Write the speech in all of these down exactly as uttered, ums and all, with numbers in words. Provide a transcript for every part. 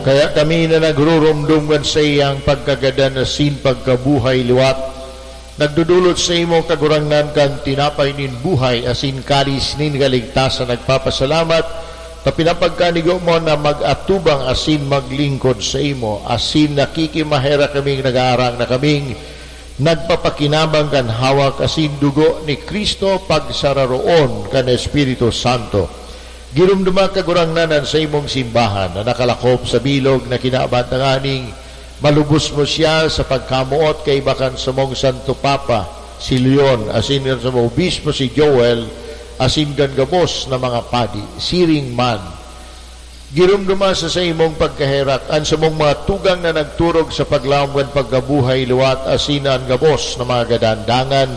Kaya kami na nagruromdom kan saiyang pagkagadan asin pagkabuhay liwat, nagdodolot saimo, Kagurangnan, kan tinapay nin buhay asin kalis nin kaligtasan, nagpapasalamat ta pinapagkanigo mo na mag-atubang asin maglingkod saimo, asin nakikimaherak kaming nag-aarang na kaming nagpapakinabang kan hawak asin dugo ni Cristo pagsararoon kan Espiritu Santo. Giromdoma, Kagurangnan, an saimong simbahan na nakalakop sa bilog na kinaban, tanganing malubos mo siya sa pagkamoot kaiba kan samong Santo Papa, si Leon, asin kan samong Obispo, si Joel, asin kan gabos na mga padi. Siring man, giromdoma sa saimong pagkaherak an samong mga tugang na nagturog sa paglaom kan pagkabuhay liwat asin an gabos na mga gadan. Dangan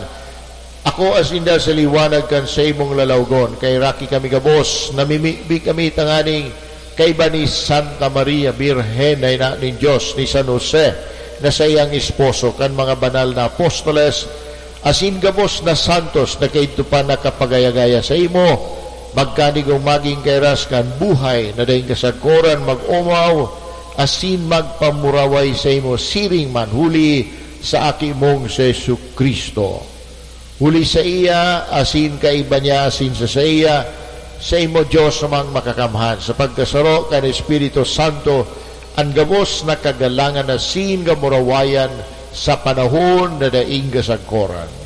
ako asin sinda sa liwanag kan saimong lalawgon. Kaheraki kami gabos, namimibi kami tanganing kaiba ni Santa Maria Birhen na ina nin Dios, ni San Jose na saiyang esposo, kan mga banal na apostoles, asin gabos na santos na kaidto pa nakapagaya-gaya saimo, magkanigong magin kairas kan buhay na daing kasagkoran, mag-omaw asin magpamuraway saimo siring man, huli sa Aki mong si Jesu-Cristo. Huli saiya, asin kaiba niya, asin sa saiya, saimo, Dios Amang Makakamhan, sa pagkasaro kan Espiritu Santo, an gabos na kagalangan asin kamurawayan sa panahon na daing kasagkoran.